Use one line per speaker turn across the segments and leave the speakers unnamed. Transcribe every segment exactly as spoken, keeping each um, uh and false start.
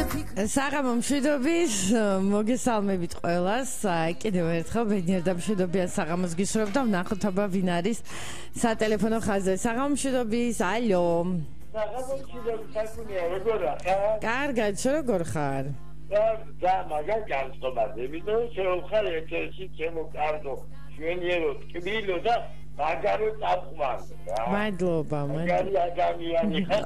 საღამო მშვიდობის, მოგესალმებით ყველას. კიდევ ერთხელ ბედნიერ და მშვიდობიან საღამოს გისურვებთ და ვნახოთ აბა ვინ არის სატელეფონო ხაზზე. საღამო მშვიდობის, ალო.
საღამო მშვიდობის, საკუნია, როგორ ხარ?
კარგად, შენ როგორ ხარ?
და მაგარ განწყობაზე, იმიტომ შევხარ ერთ-ერთი ჩემო კარგო შვენიერო ტკბილო და მაგარო წამყვანი რა.
მადლობა,
მაგარი ადამიანი ხარ.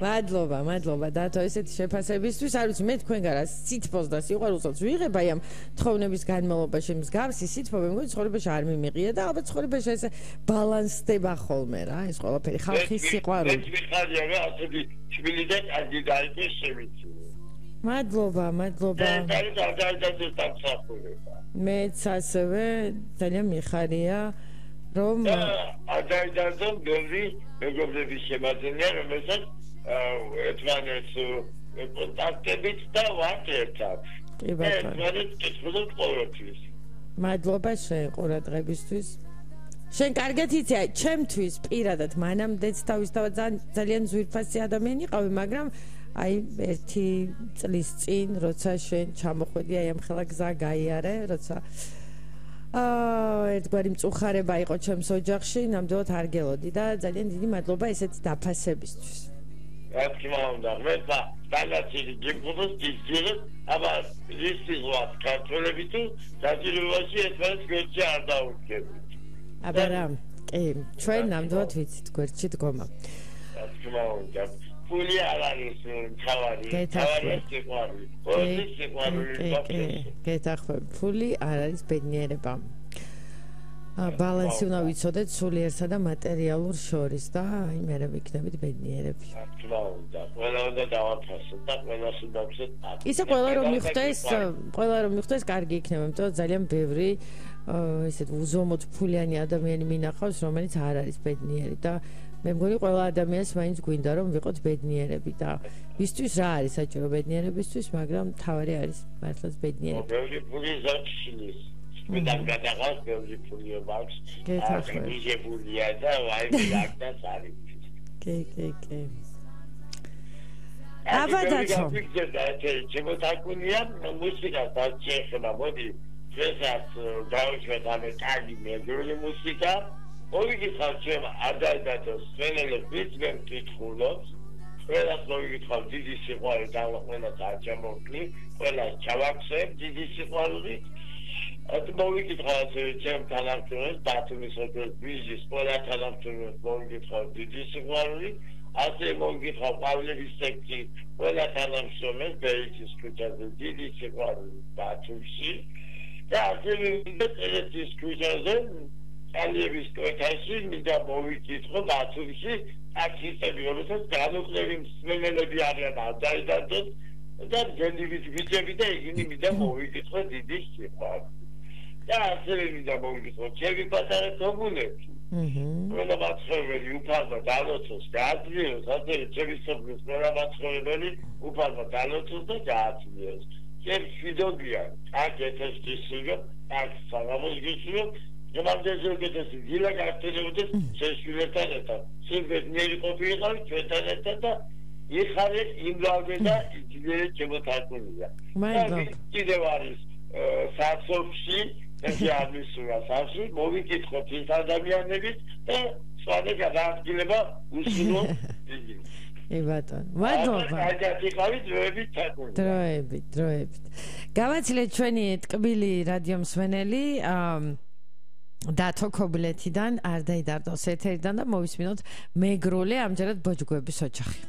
მადლობა, მადლობა დათო ესეთი შეფასებისთვის. არ ვიცი, მე თქვენგან რა სითბოს და სიყვარულსაც ვიღებ აი ამ თხოვნების განმავლობაში მსგავსი სითბო მე მგონი ცხოვრებაში არ მიმიყია და ალბათ ცხოვრებაში ესე ბალანსდება ხოლმე რა ეს ყველაფერი ხალხის სიყვარული.
მე მიხარია რა ასეთი შვილი და კარგი დაიწყეს შევიცი.
მადლობა, მადლობა.
და და და და დამსახურება.
მეც ასევე ძალიან მიხარია რომ
ადაიდაზონ ბევრი მეგობრების შემაძენია რომელსაც ერთმანეთს კონტაქტებით და ვართ ერთად.
კი ბატონო.
ერთმანეთს კითხულობ ყოველთვის.
მადლობა შენ ყურადღებისთვის. შენ კარგად იცი, აი ჩემთვის პირადად მანამდეც თავისთავად ძალიან ძვირფასი ადამიანი ყავი, მაგრამ აი ერთი წლის წინ როცა შენ ჩამოხვედი აი ამ ხელა გზა გაიარე, როცა აა ერთგვარი მწუხარება იყო ჩემს ოჯახში, ნამდვილად არ გელოდი და ძალიან დიდი მადლობა ესეთი დაფასებისთვის.
რა თქმა უნდა, მე და დანაცილი გიგუბოს გიძირებ, აბა ისი ზღვა ქართველები თუ დაძირებაში ერთმანეთს გვერდში არ დაუდგებით.
აბა რა, კი, ჩვენ ნამდვილად ვიცით გვერდში დგომა.
რა თქმა უნდა. ფული არ არის თავარი, თავარი სიყვარული. ყოველი სიყვარული
გაკეთე. გეთახმები, ფული არ არის ბედნიერება. ა ბალანსი უნდა ვიცოდეთ სულიერსა და მატერიალურ შორის და აი მერე ვიქნებით ბედნიერები.
რა თქმა უნდა, ყველა უნდა დავაფასოთ და ყველას უნდა ვცეთ.
ისე ყველა რომ მიხვდეს, ყველა რომ მიხვდეს, კარგი იქნება, იმიტომ რომ ძალიან ბევრი ესეთ უზომოდ ფულიანი ადამიანი მინახავს, რომელიც არ არის ბედნიერი და მე მგონი ყველა ადამიანს მაინც გვინდა რომ ვიყოთ ბედნიერები და ისთვის რა არის საჭირო ბედნიერებისთვის, მაგრამ თავარი არის მართლაც ბედნიერება.
ბევრი ფული ზარჩილის. მე დამგადაღავს ბევრი ფული აქვს. გეთახმებია და ვაი მიგაკეთეს არის.
კი, კი, კი. აბა დათო.
შემოთაკუნია მუსიკას დაჭეხება, მოდი დღესაც დავუშვათ ამ კარგი მეგრული მუსიკა. მოვიგითხავ ჩემ ადაიდათოს სვენელებს მე მკითხულობს ყველას მოვიგითხავ დიდი სიყვარული და ყველას არ ჩამოვკლი ყველას ჩავაქცევ დიდი სიყვარული ათი მოვიგითხავ ჩემ თანამშრომლებს ბათუმის ოპერის ბიჟის ყველა თანამშრომლებს მოვიგითხავ დიდი სიყვარული ასე მოვიგითხავ პავლევის სექციის ყველა თანამშრომლებს ბეიჩის ქუჩაზე დიდი სიყვარული ბათუმში და ასე მივიდეთ ქუჩაზე ალიების კოეთაში მინდა მოვიკითხო ბათუმში ტაქსისტები რომელსაც განუკლები მსმენელები არიან ადაიდადოს და გენდივით ბიჭები და იგინი მინდა მოვიკითხო დიდი სიყვარული და ასევე მინდა მოვიკითხო ჩემი პატარა თომუნებს ყველა მაცხოვრებელი უფალმა დალოცოს გააძლიეროს ასევე ჩემი სოფლის ყველა მაცხოვრებელი უფალმა დალოცოს და გააძლიეროს ჩემ შვიდობიან აქ ეთესტისიგო აქ საღამოს გისურვებ გამარჯვება გეთესი დილა გაქცევოდეს შეშვილებთან ერთად შეგეძნერი ყოფილიყავი ჩვენთან ერთად და იხარე იმლავე და იძილებე ჩემოთაკუნია
მადლობა
კიდევ არის საქსოფში ესე ამისურა სახში მოვიკითხოთ ის ადამიანებით და სხვათა გადაადგილება უსულო იგივე
ე ბატონ მადლობა
გადაიხავი დროებით თაკუნია
დროებით დროებით გავაცილეთ ჩვენი ტკბილი რადიო მსმენელი დათო ქობლეთიდან არ დაიდარდოს ეთერიდან და მოვისმინოთ მეგრული ამჯერად ბოჯგოების ოჯახი.